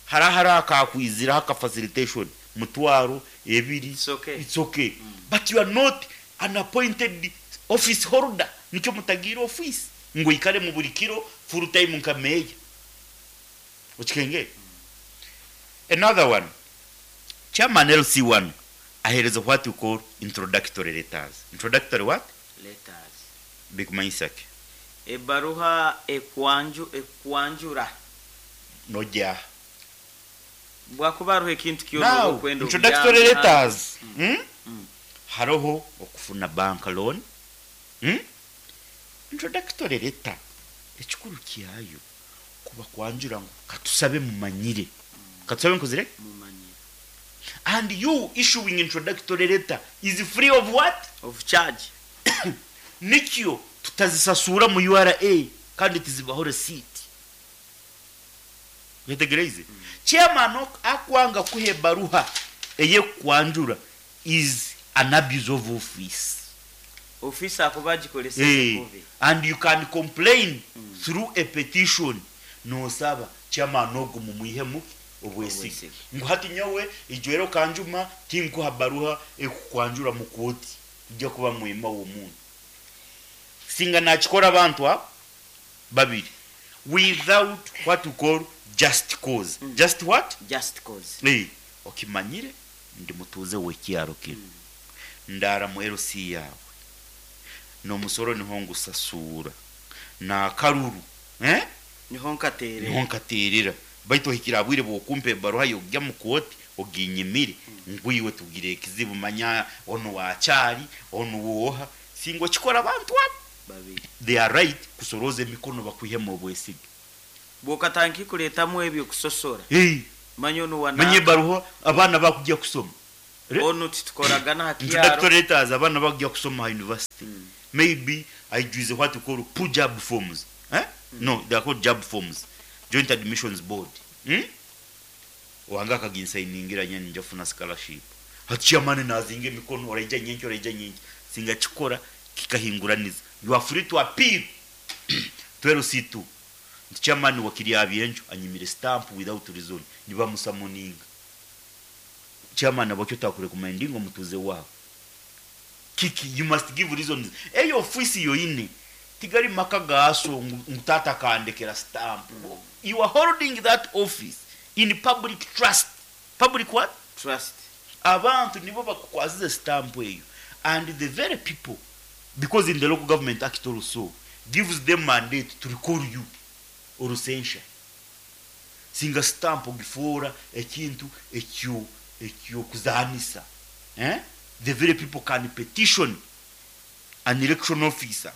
Hara akakwiziraho aka facilitation mutwaro ebiri. It's okay. It's okay, but you are not an appointed office holder. Nicyo mutagira office ngo ikare mu buri kiro full time nka meya. Okikenge another one, chairman L C one ahereza what you call introductory letters. Introductory what? Letters. Bikumanyisake? Ebbaruha ekwanju ekwanjura. Nojja. Bwakuba hariho ekintu kyona Now, okwenda introductory obuyambi, letters, hmm? Mm. Haroho okufuna bank loan, hmm? Introductory letter ekikuru kyayo kuba kwanjura ngu katusabe mumanyire, katusabe nkozire. Mumanyire. And you issuing introductory letter is free of what? Of charge. Nikyo tutazisasura mu U R A kandi tizibaho receipt. Wetegereze, chairman ok- akwanga kuha ebaruha eyekwanjura is an abuse of office. Ofisi akuba agikolesa Eh, kubi. And you can complain through a petition, nosaba chairman ogwo mumwihemu obwesige. Obwesige. Ngu hati nyowe ijwero kanjuma tinkuha baruha ekukwanjura mu kooti, ijja kuba mwema w'omuntu. Singa nakikora abantu abo babiri without what you call just cause. Just what? Just cause. Eh, okimanyire ndi mutuuze w'ekyaro kino, ndara mu L C yawe, n'omusoro niho ngusasuura nakaruru, eh? Niho nkateerera. Niho nkateerera, baitu ohikira bwire bwokumpa ebaruha yogya mu kooti oginyimire ngwiwe tugire ekizibu. Manya ono wakyali ono woha singa okikora abantu abo babiri, they are right kusoroza emikono bakwihemu obwesige. Bw'okatandika kuleetamu ebyo kusosora. Hey. Manya onu Manye wana ebaruha abaana bakujya kusoma. Re- onu titukoragana ha kyaro. Introductory letters abaana bakujya kusoma ha university. Maybe aijwize what we call PUJAB forms. Eh? No, they are called JAB forms. Joint Admissions Board. Hmm? Wanga akaginsayiningira nyani nja kufuna scholarship. Hati chairman nazinga emikono, oraija nyenki, oraija nyenki. Singa kikora kikahinguraniza. You are free to appeal to L C two. Nti chairman wakiri abyenjo anyimire stamp without reason. Nibamusamoninga. Chairman abakyo takurecommendinga omutuze wawe. Kiki, you must give reasons. Eyo ofisi yoine tigari maka gaso ngu ngu tata kandekera stamp. You are holding that office in public trust. Public what? Trust. Abantu nibo bakukwazize stamp eyo, and the very people, because in the Local Government Act also gives them mandate to recall you or censure. Singa stamp ogifuura ekintu ekyo ekyokuzanisa, eh? The very people can petition an election officer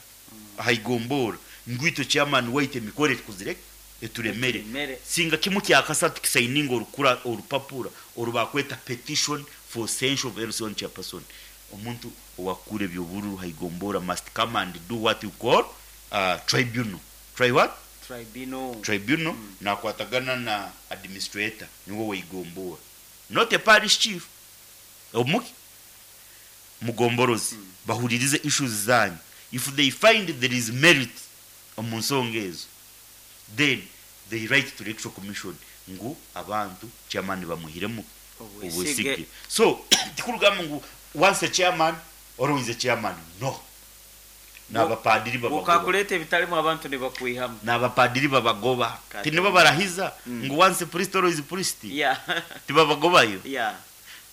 ahaigombora ngwito chairman waite emikore tukuzire eturemere. Eturemere. Singa kimu kyakasatu kisayininga orukura orupapura orubakweta petition for censure of L C one chairperson. Omuntu owakura ebyobururu haigombora must come and do what you call uh, tribunal. Try what? Tribunal. Tribunal. mm. Nakwatagana na administrator niwe waigombora, not a parish chief, omuki mugomborozi. mm. Bahuririze issues zanyu. If they find there is merit omu nsonga ezo, then they write to Electoral Commission ngu abantu chairman bamuhiremu obwesige. Obwesige. So tikurugamba ngu once a chairman, always a chairman. No, n'abapadiri babagoba. Ukakuleta ebitalimu abantu nibakwihamu. N'abapadiri babagoba. Kati. Tinibo barahiza Mm. ngu once priest, always priest. Yeah tibabagobayo. Yeah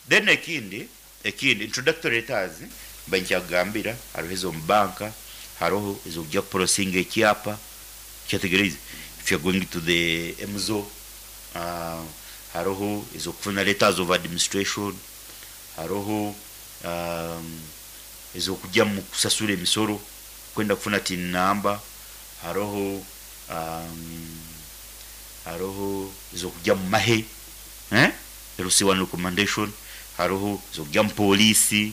Then ekindi ekindi introductory letters bankyagambira, hariho ezo banka, hariho ezokujya kuprocessinga ekyapa kyategereze if you're going to the M Z O, uh, hariho ezokufuna letters of administration, hariho um, ezokujya mu kusasura emisoro, kwenda kufuna TIN number, hariho um, hariho ezokujya mu mahe, eh? L C one recommendation, hariho ezokujya mu polisi,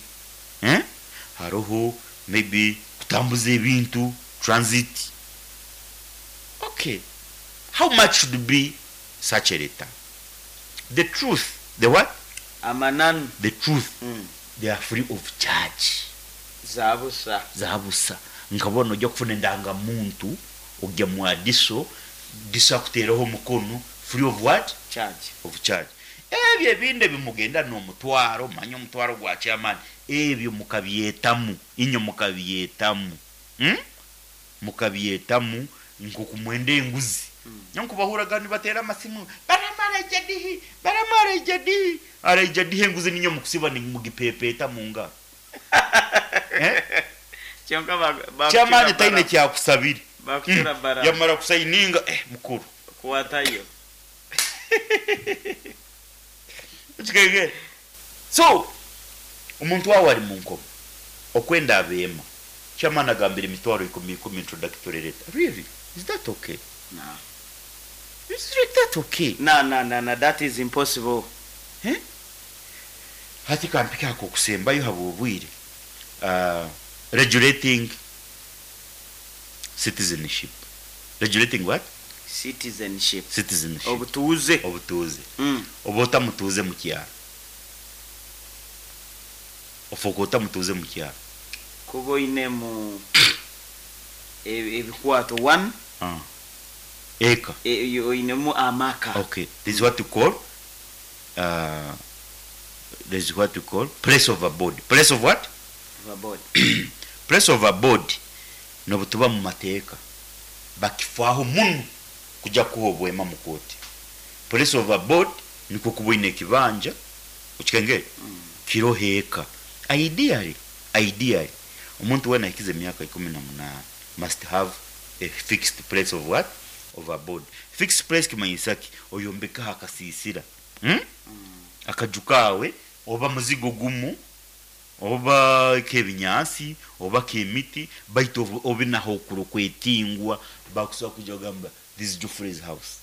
eh? Hariho maybe kutambuza ebintu, transit. Okay, how much should be such a letter? The truth, the what? Amananu. The truth, mm. they are free of charge. Zabusa. Zabusa. Nkabona ojja kufuna endangamuntu ojja mu adiso diso akuteeraho omukono free of what? Charge. Of charge. Ebyo ebindi ebimugenda n'omutwaro, manya omutwaro gwa chairman, ebyo mukabyetamu inyo, mukabyetamu, hmm? Mukabyetamu nkokumwenda enguzi. Mm. Nyankubahuraga nibatera amasimu, baramara ijadihi, baramara ijadihi, ara ijadihi enguzi ninyo mukusiba nimugipepeta mu ngaro, eh? Kyonka ba- bakucura Chairman taine bara- kyakusabire. Bakucura bara. Yamara kusayininga, eh, mukuru. Kuwatayo. Kikegere. So omuntu wawe ari mu nkomo okwenda abeema, chairman agambira emitwaro ikumi ikumi introductory letter. Really, is that okay? No. Is that okay? No, no, no, no, that is impossible. Eh? Hati kampika ako kusembayo habwobwire, uh, regulating citizenship. Regulating what? Citizenship. Citizenship. Obutuuze. Obutuuze. mm. Oba otamutuuze mu kyalo, ofuuka otamutuuze mu kyalo. Kuba oinemu e- ebikwato one. Ah. Eka. e- oinemu amaka. Okay, this is what you call uh, this is what you call place of abode. Place of what? Abode. Place of abode nobutuba mu mateeka bakifaaho muno kujja kuha obwema mu kooti. Place of abode nikwo kuba oine ekibanja, okikengere, kiroho eka. Ideally, ideally omuntu wena ahikize emyaka ikumi na munaana must have a fixed place of what? Of abode. Fixed place kimanyisa ki? Oyombekaho akasiisira, hmm? Akaju kaawe, oba muzigo gumu, oba k'ebinyaasi, oba k'emiti, baitu obu- obe naho okuro kwetingwa bakusobola kujja kugamba, "This is Geoffrey's house."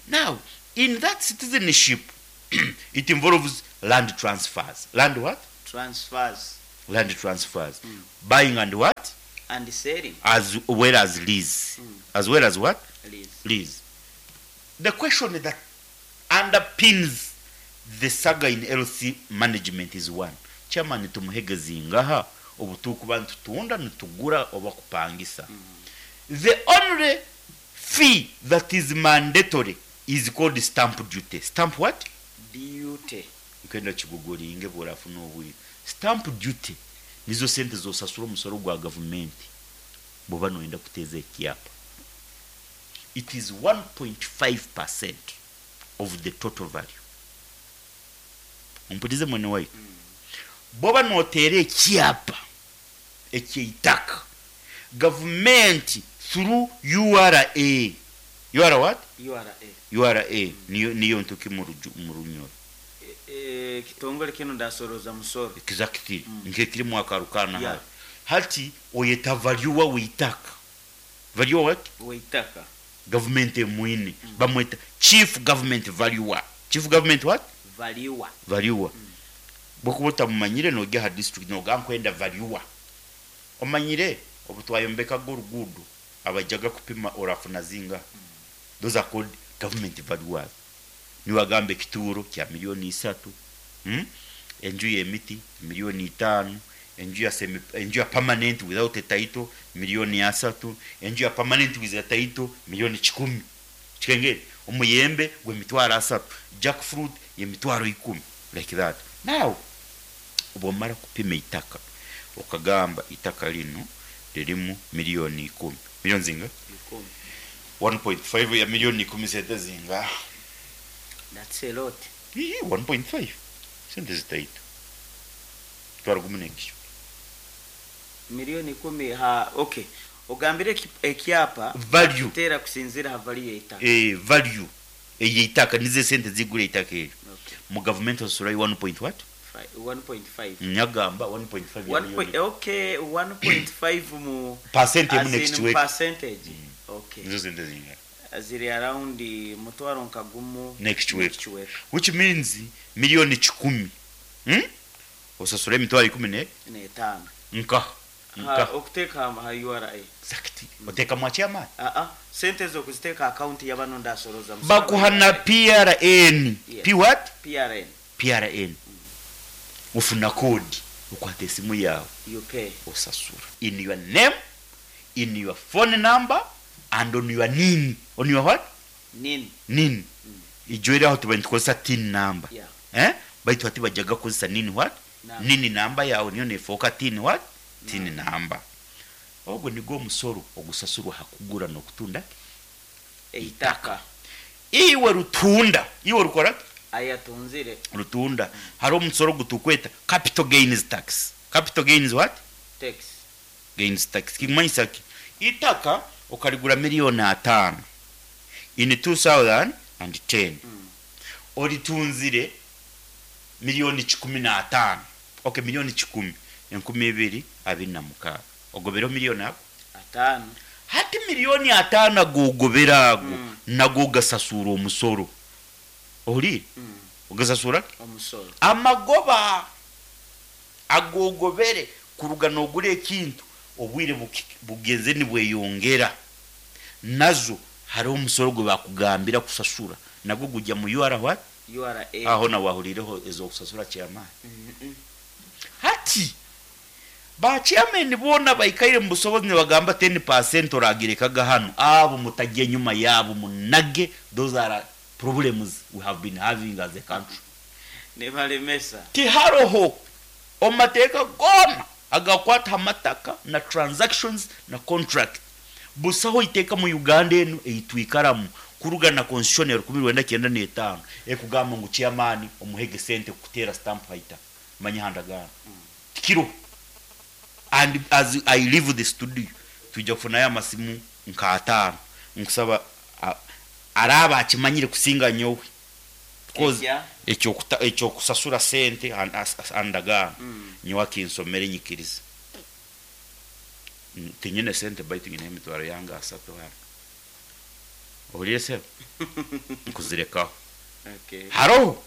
Now in that citizenship It involves land transfers. Land what? Transfers. Land transfers. Buying and what? And selling. As well as lease. As well as what? Lease. Lease. The question that underpins the saga in L C management is one. Chairman tumuhege zingaha obutukuba nitutunda, nitugura oba kupangisa? The only fee that is mandatory is called stamp duty. Stamp what? Duty. Nkenda kiguguringe bworafuna obwire. Stamp duty nizo sente zosasura, omusoro gwa gavumenti bwoba noyenda kuteeza ekyapa. It is one point five percent of the total value. Ompurize, mwene waitu. Bwoba noteera ekyapa ekyeitaka, gavumenti through U R A, U R what? U R A. U R A niyo niyo ntuki mu ruju- mu Runyoro. E, kitongole kino ndasoroza musoro. Exactly, nkekirimu akarukana. Yeah. Hali hati oyeta valuer weitaka. Valuer what? Weitaka. Government emwine bamweta chief government valuer. Chief government what? Valuer. Valuer. Bwokuba otamumanyire, nojya ha district noga nkwenda valuer. Omanyire obutwayombekaga oruguudo, abajaga kupima orafuna zinga, those are called government valuers. Niwagamba ekituuro kya miliyoni isatu, hmm? Enju y'emiti miliyoni itaano, enju ya semi, enju ya permanent without a title miliyoni asatu, enju ya permanent with a title miliyoni kikumi kikengere, omuyembe gw'emitwaro asatu, jackfruit y'emitwaro ikumi, like that. Now bwomara kupima itaka okagamba itaka lino lirimu miliyoni ikumi, miliyoni zinga? Ikumi. one point five ya miliyoni ikumi sente zinga? That's a lot. Ii, one point five sente zitaito, twara gumu n'ekyo. Miliyoni ikumi ha, okay, ogambire eki- ekyapa Value. Tera kusinzira ha value yeitaka. Eh, value eyeitaka nizo sente zigura eitaka eryo. Okay. Mu gavumenti osasulayo one point what? Fi- one point five. Nyagamba one point five ya One point, miliyoni. Okay, one point five mu Percent emu as in n'ekichweka. Percentage, okay. Nizo sente zinga? Ziri around mutwaro nka gumu n'ekichweka. N'ekichweka. Which means miliyoni kikumi, hmm? Osasula emitwaro ikumi ne N'etaano. Nka Ha, nka okuteeka ha ha U R A. Exactly. Oteekamu akyamaani. Ah ah, sente zo kuziteeka account y'abano ndasoroza musoro. Bakuha na P R N. Yeah. P what? P R N. P R N. Ofuna kodi, okwata esimu yawe, You pay. osasura in your name, in your phone number and on your N I N. On your what? N I N. N I N. Ijo aho tuba nitukozesa TIN number. Yeah. Eh, baitu hati bajaga kukozesa N I N what? Number. N I N number yawe niyo nefoka TIN what? TIN number. Ogwo nigwo omusoro ogusasurwa hakugura n'okutunda Eitaka. Iwe rutunda, iwe rukora Ayatunzire. Rutunda, hariho omusoro gutukweta capital gains tax. Capital gains what? Tax. Gains tax kimanyisa ki? Itaka okarigura miliyoni ataano in two thousand ten, Mm. oritunzire miliyoni kikumi n'ataano. Okay, miliyoni kikumi enkumi ibiri abiri na mukaaga, ogobereho miliyoni ago Ataano. Hati miliyoni ataano agogobera ago, Mm. nago gasasura omusoro. Ohuriire? Mm. Ogasasura Omusoro. Amagoba agogobere kuruga nogura ekintu, obwire buki- bugenze nibweyongera, nazo hariho omusoro gwe bakugambira kusasura, nagwo gujya mu U R what? U R A. Aho nawe wahurireho ezokusasura chairman. Mm -mm. Hati ba chairman bona baikaire mu busobozi nibagamba ten percent oragirekaga hano, abo mutajya nyuma yabo munage. Those are problems we have been having as a country. Nibalemesa. Tiharoho omu mateeka goona agakwata amataka na transactions na contract, busaho iteeka mu Uganda enu eitwikaramu kuruga na constitution ya rukumi rwenda kyenda n'etaano ekugamba ngu chairman omuhege sente kuteera stamp haita manya handagaano tikiro. And as I leave the studio, tujja kufunayo amasimu nka ataano nkusaba a- araaba akimanyire kusinga nyowe. Because Ekya? ekyokuta- ekyokusasura sente an- as- as- andagaano, Mm. nyowe akinsomere nyikiriza. Mm, tinyine sente baitu nyine emitwaro yange asatu hano. Ohuriire sebo? Nkuzirekaho. Okay. Haroho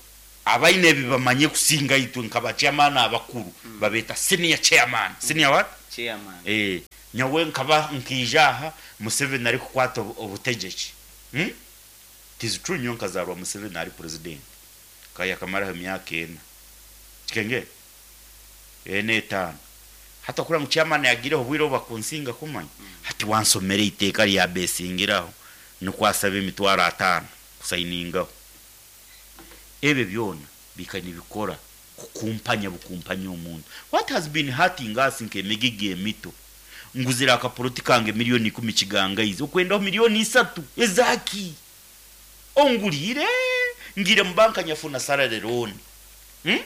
Abaine ebi bamanye kusinga itwe nka chairman abakuru, babeta senior chairman. Senior what? Chairman. Eh, nyawe nkaba nkija aha Museveni ari kukwata obu- obutegeki. Hmm? It is true, nyo nkazarwa Museveni ari president. Kaya kamaraho emyaka ena. Kikenge? Ena, etaano. Hata kura ngu chairman yagireho obwire obu bakunsinga kumanya. Hati wansomera iteeka rya besingiraho nikwasaba emitwaro ataano kusayiningaho. Ebyo byona bika nibikora kukumpanya, bukumpanya omuntu. What has been hurting us nk'emigigi emito, nguzira akapoloti kange miliyoni ikumi, kigangaize okwendaho miliyoni isatu ezaki ongulire ngire mu banka nyafuna salary loan, hmm?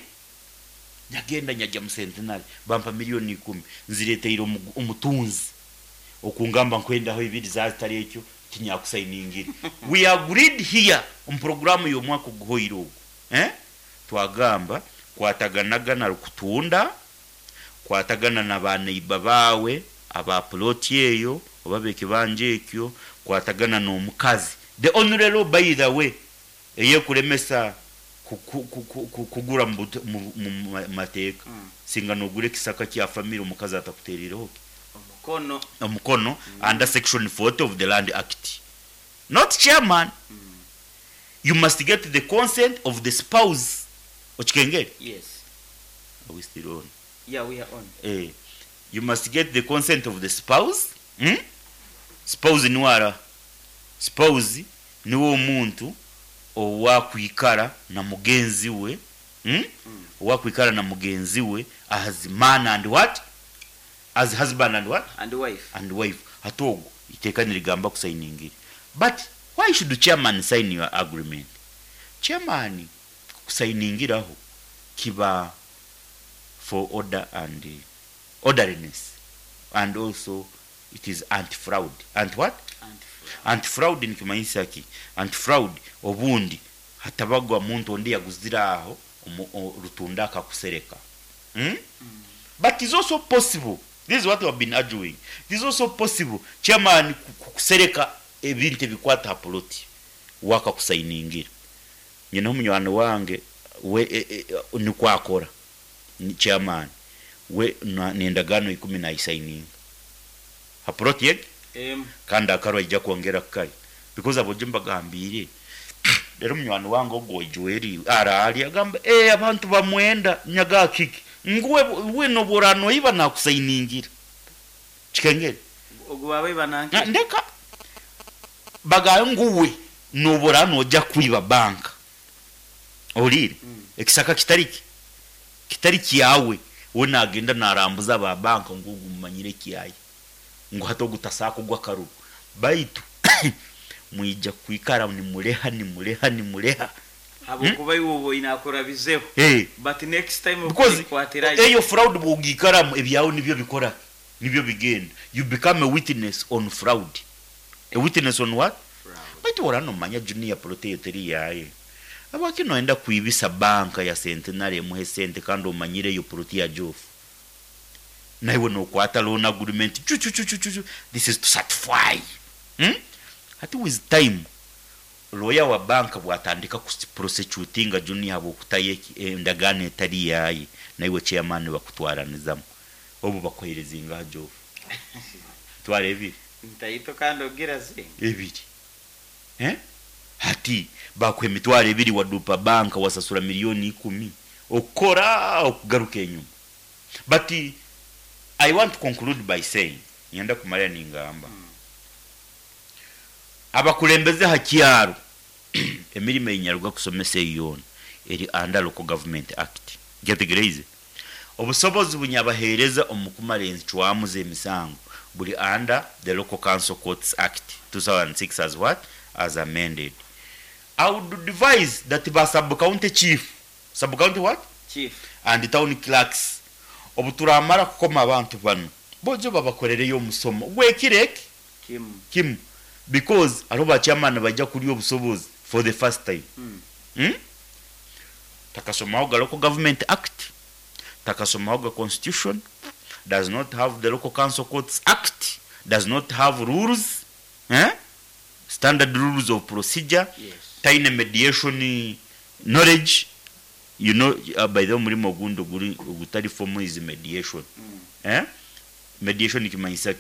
Nyagenda nyajya mu Centenary, bampa miliyoni ikumi, nzireteire omu- omutunzi okungamba nkwendaho ibiri zazitari ekyo tinyakusayiningire. We agreed here omu programu y'omwaka oguhoire ogwo, eh? Twagamba kwataganaga na rukutunda, kwatagana na baneiba bawe aba ploti eyo oba bekibanja ekyo, kwatagana n'omukazi. The only law, by the way, eyekulemesa ku- ku- ku- ku- ku- kugura mu bute- mu- mu ma- mateeka, Mm. singa nogura ekisaka kya family omukazi atakuterireho omukono. Omukono under section forty of the Land Act, not chairman. You must get the consent of the spouse. Okikengere? Yes. Are we still on? Yeah, we are on. Eh, you must get the consent of the spouse, hmm? Spouse niwara spouse niwe omuntu owakwikara na mugenzi we, hmm? Mm. Owakwikara na mugenzi we as man and what, as husband and what? And wife. And wife. Hati ogwo iteeka nirigamba kusayiningire. But why should the chairman sign your agreement? Chairman kusayiningiraho kiba for order and uh, orderliness, and also it is anti-fraud. Anti what? And Anti-fraud nikimanyisa ki? Anti-fraud, obundi hatabagwa muntu ondi yaguzire aho omu- o- rutunda akakusereka, hmm? But it's also possible, this is what we have been arguing, it is also possible chairman ku- ku- kusereka ebintu ebikwata ha poloti wakakusayiningira. Nyina omunywani wange we e, e, nikwakora ni chairman we na- nendagaano ikumi nayisayininga ha poloti yege em kandi akarwa ijja kwongera kukari because abo gye mbagambire. Rero munywani wange ogwo Joel arali agamba, eh, abantu bamwenda nyaga kiki nguwe we noborano iba nakusayiningira. Kikengere? Ogwo babe bananke? Na- ndeka bagayo nguwe noborano ojja kwiba banka olire Mm. ekisaka kitari kitari kyawe. We nagenda narambuza aba banka ngu mumanyire kyaye ngu hata ogutasaka ogw'akaruru baitu mwija kwikara nimureha nimureha nimureha. Habwokuba iwe oba inakurabizeho. Hey. But next time Because okukwatirayo. eyo fraud bwogikaramu ebyawe nibyo bikora, nibyo bigenda. You become a witness on fraud. A witness on what? Fraud. Baitu oranomanya Junior plot eyo teri yaye, abaki noenda kwibisa banka ya Centenary emuhe sente kandi omanyire eyo plot ya Jofu, naiwe nokwata loan agreement chu chu chu chu chu chu. This is to satisfy, hmm? Hati with time lawyer wa banka bwatandika prosecutinga Junior habwokutayo endagaano etari yaye, naiwe chairman bakutwaranizamu obu bakohereza ingaha Jofu? Twara ebiri. Ntaito kandi ogira zingi. Ebiri, eh? Hati bakuha emitwaro ebiri, wadupa banka, wasasura miliyoni ikumi, okukora okugaruka enyuma. But I want to conclude by saying, nyenda kumalira ningamba, Mm. abakulembeze ha kyaro, emirimo einyaruga kusomesa eyo yoona eri under Local Government Act. Nketegereize obusobozi bunyabaheereza omu kumara encwamu z'emisango buli under the Local Council Courts Act two thousand six as what, as amended. I would advise that ba sub county chief, sub county what? Chief. And town clerks, obu turamara kukoma abantu bano bojo babakorereyo omusomo gwekireke Kimu. Kimu, because hariho bachairman bajja kulya obusobozi for the first time. Mm. Hmm? Takasomaho ga Local Government Act, takasomaho ga constitution, does not have the Local Council Courts Act, does not have rules, eh? Standard rules of procedure. Yes. Taine mediation knowledge. You know, uh, by the way, omurimo ogundi oguri ogutari formal is mediation. Eh, mediation nikimanyisa